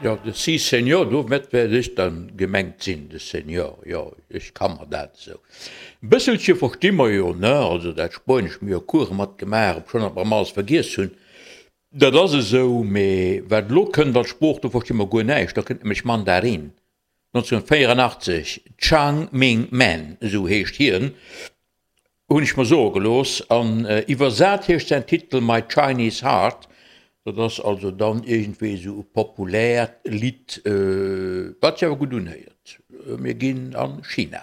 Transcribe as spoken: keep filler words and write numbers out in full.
Jo, de Sí Señor, domat wäert ech dann gemengt sinn, de Señor, jo, ech ka mer dat esou. E bësselche versti mer jo, ne, also dat Spuenesch, mir hu jo Course mat gemaach, obschonn datt mer emmer alles vergiess hunn, dat ass esou, mee wat elo kënnt als Sprooch, do versti mer guer näischt, da kënnt nämlech Mandarin. nonzénhunnertvéierunachtzeg, Chang Ming Man, esou heescht hien, hunn ech mer soe gelooss, an iwwersat heescht säin Titel My Chinese Heart. Dat ass also dann iergendwéi esou e populäert Lidd, wat sech awer gutt unhéiert. Mir ginn a China.